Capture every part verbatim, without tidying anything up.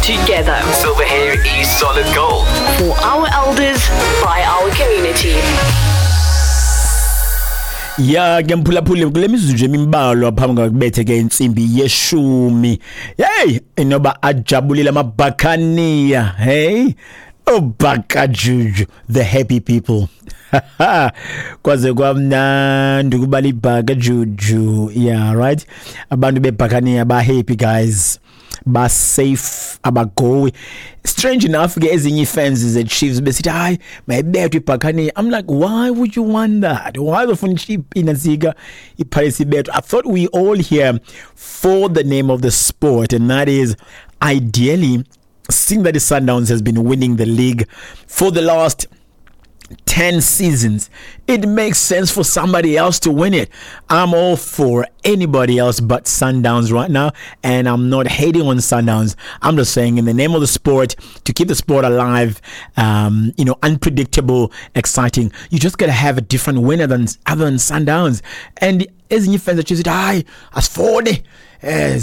Together. Silver hair is solid gold. For our elders, by our community. Ya ke mphulaphuli, kule mizuzu nje emimbalwa phambi kwakubethe ke intsimbi yeshumi, hey, inoba ajabulile amabhakaniya. Hey, obhakajuju, the happy people. Kwaze kwamnandi ukubala ibhakajuju. Yeah, right, abantu bebhakaniya ba happy guys, ba safe, abagowi. Strange enough ke, ezinye ii-fans ze-Chiefs besithi, "Hayi, mayibethwe ibhakaniya." I'm like, "Why would you want that? Why uzofuna inantsika iPirates ibethwe?" I thought we all here for the name of the sport, and that is ideally, seeing that the Sundowns has been winning the league for the last ten seasons, it makes sense for somebody else to win it. I'm all for anybody else but Sundowns right now, and I'm not hating on Sundowns. I'm just saying, in the name of the sport, to keep the sport alive, um, you know, unpredictable, exciting, you just gotta have a different winner than other than Sundowns. And ezinye fans that choose, "Hayi, asifuni eh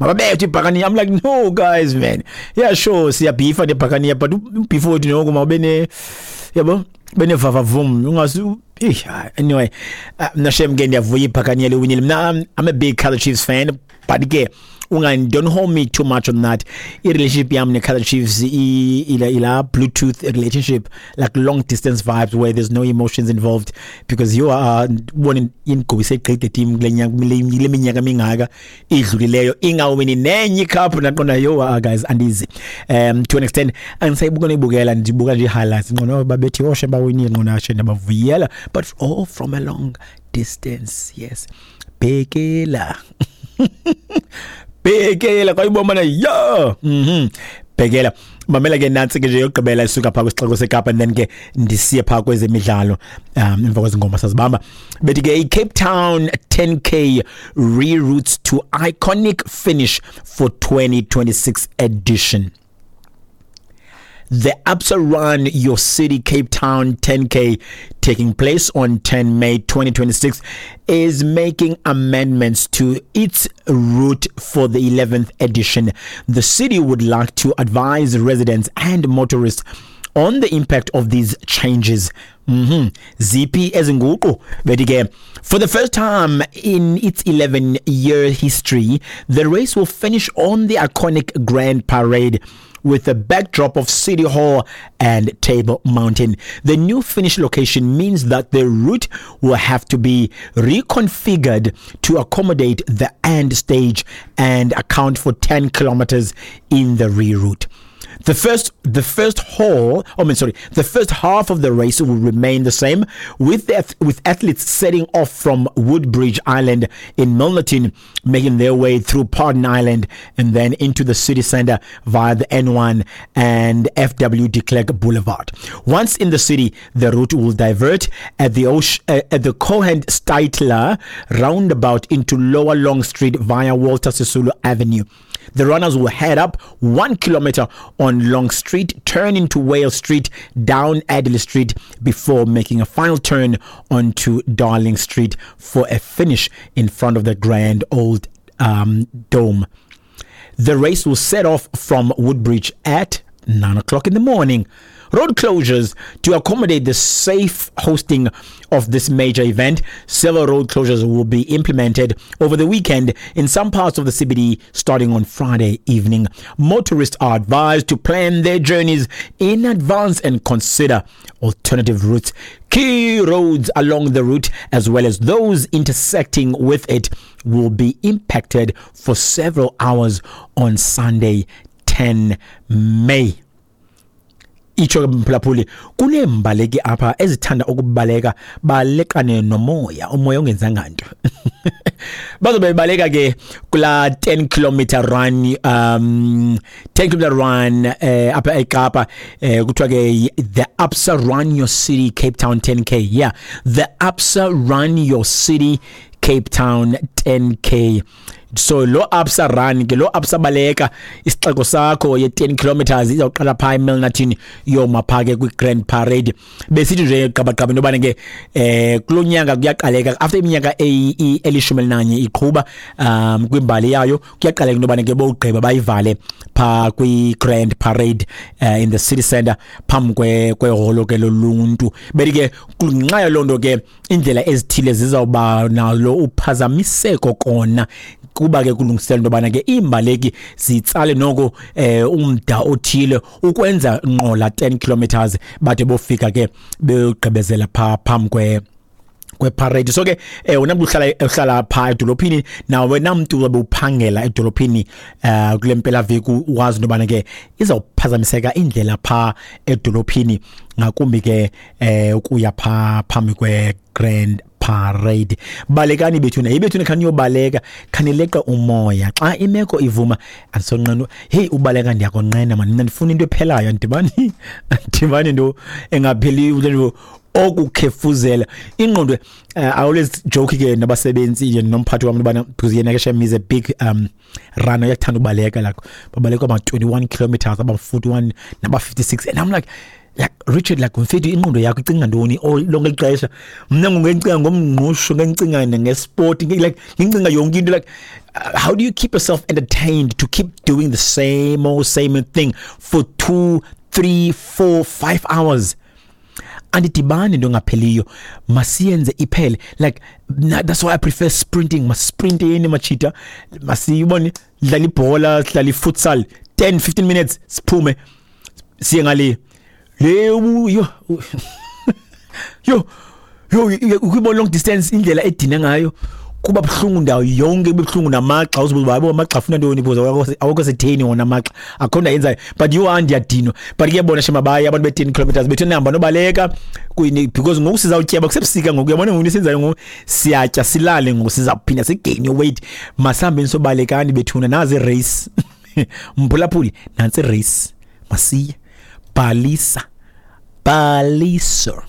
mababethwe ibhakaniya." I'm like, "No guys, man." Yeah, sure, siyabhifa nebhakaniya, but beef wethu noko mawube ne, yabo, benevavavum ungasi. Anyway, uh, mna shem ke ndiyavuya ibhakaniya liwinile. Mna I'm, I'm a big Kaizer Chiefs fan, but ke ungan don't hold me too much on that. I-relationship yam ne-Kaizer Chiefs ila ila Bluetooth relationship, like long distance vibes where there's no emotions involved, because you are ubone inigobise gqitha team kule nyaka, kule minyaka mingaka idlulileyo, ingawini nenye icup. Naqonda yo, ah, guys, andizi um to an extent andisayibuka noyibukela, ndibuka nje i-highlights. Ngqono babethi oshe bawinile, ngqono ashe ndabavuyela, but all from a long distance. Yes, bhekela bhekela kwayibona yo mhm bhekela. Mamela ke, nantsi ke nje yokugqibela isuka phaa kwisixeko seKapa, and then ke ndisiye phaa kwezemidlalo um emva kwezi ngoma sazibamba. Bethi ke i-Cape Town ten K reroutes to iconic finish for twenty twenty-six edition. The Absa Run Your City Cape Town ten K, taking place on ten May twenty twenty-six, is making amendments to its route for the eleventh edition. The city would like to advise residents and motorists on the impact of these changes. Mm-hmm. Ziphi ezinguqu? Bethi ke, for the first time in its eleven year history, the race will finish on the iconic Grand Parade with the backdrop of City Hall and Table Mountain. The new finish location means that the route will have to be reconfigured to accommodate the end stage and account for ten kilometers in the reroute. The first, the first hall, I mean, sorry, the first half of the race will remain the same, with the, with athletes setting off from Woodbridge Island in Milnerton, making their way through Paarden Island and then into the city center via the N one and F W de Klerk Boulevard. Once in the city, the route will divert at the Osh, uh, at the Cohen Steitler roundabout into Lower Long Street via Walter Sisulu Avenue. The runners will head up one kilometer on Long Street, turn into Wale Street, down Adderley Street, before making a final turn onto Darling Street for a finish in front of the Grand Old um, Dome. The race will set off from Woodbridge at nine o'clock in the morning. Road closures: to accommodate the safe hosting of this major event, several road closures will be implemented over the weekend in some parts of the C B D starting on Friday evening. Motorists are advised to plan their journeys in advance and consider alternative routes. Key roads along the route, as well as those intersecting with it, will be impacted for several hours on Sunday, ten May. Itsho ke mphulaphuli, kuneembaleki apha ezithanda ukubaleka baleqane nomoya, umoya ongenzanga nto. Bazobe bebaleka ke kula ten kilometer run, um ten kilometer run eh apha eKapa, eh kuthiwa ke the Absa Run Your City Cape Town ten K. Yeah, the Absa Run Your City Cape Town ten K. So lo Absa Run ke, lo Absa Baleka Isixeko Sakho ye ten kilometers izawuqala phaa eMilnerton, yoma phaa ke kwi-Grand Parade. Besithi nje qabaqaba into yobana ke eh kulo nyaka kuyaqaleka after iminyaka elishumi elinanye iqhuba um kwimbali yayo, kuyaqaleka into yobana ke bowugqiba bayivale phaa kwi-Grand Parade uh, in the city center phambi kweholo ke loluntu. Beti ke ngenxa yaloo nto ke indlela ezithile zizawuba nalo uphazamiseko kona, kuba ke kulungiselela into yobana ke iimbaleki zitsale noko eh umda othile ukwenza nqola ten kilometers, bade bofika ke beyogqibezela phaa phambi kwe kweparade. So ke eh wena mntu uhlala uhlala phaa edolophini, nawe wena mntu uzobe uphangela edolophini eh kule mpelaveki, wazi into yobana ke izawuphazamiseka indlela phaa edolophini, ngakumbi ke eh ukuya phaa phambi kwe-Grand Parade. Balekani bethuna, yibethuna khaniyobaleka, khanileqa umoya xa imeko ivuma. Andisonqena, hey, ubaleka ndiyakonqena mani, mna ndifuna into ephelayo, andibani andibani into engapheliyo okukhefuzela ingqondo. uh, I always joke ke nabasebenzi nomphathi wami bana, because yena ke shem is a big um runner, uyakuthanda ubaleka, like babaleka ama twenty-one kilometers, aba forty-one naba fifty-six, and I'm like like Richard, like mfethu, ingqondo yakho icinga ntoni lonke ixesha? Mna ngingicinga ngomngqusho, ngicinga ngesport, like ngicinga yonke into. Like uh, how do you keep yourself entertained to keep doing the same old same thing for two, three, four, five hours? Andidibani into engapheliyo, masiyenze iphele. Like that's why I prefer sprinting. Masprinteni machita, masiyibone, dlala ibhola, dlala ifutsal ten fifteen minutes, siphume siye ngale le. Yo yo yo ukubona long distance indlela edina ngayo, kuba buhlungu ndawo yonke, kube buhlungu namagxa, uzibuza hayibo amagxa afuna ntoni, because awukho setheni wona amagxa, akho nto ayenzayo. But you are ndiyadinwa. But ke bona shema baye abantu be-ten kilometers bethu, nihamba nobaleka, because ngoku sizawutyeba, kusebusika ngoku, uyabona ngoku senzayo ngoku, siyatya silale ngoku, sizawuphinda sigain weight. Masihambeni sobalekani bethuna, nazi race mphulaphuli, nantsi race, masiye bhalisa bhalisa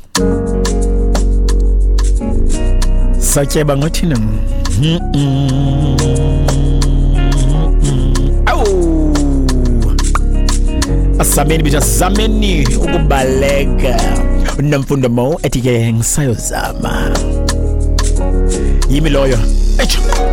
satyeba ngothina. Awu, asameni bitha, sameni ukubaleka. Nomfundo Mo ethi ke ngisayozama, yimi loyo.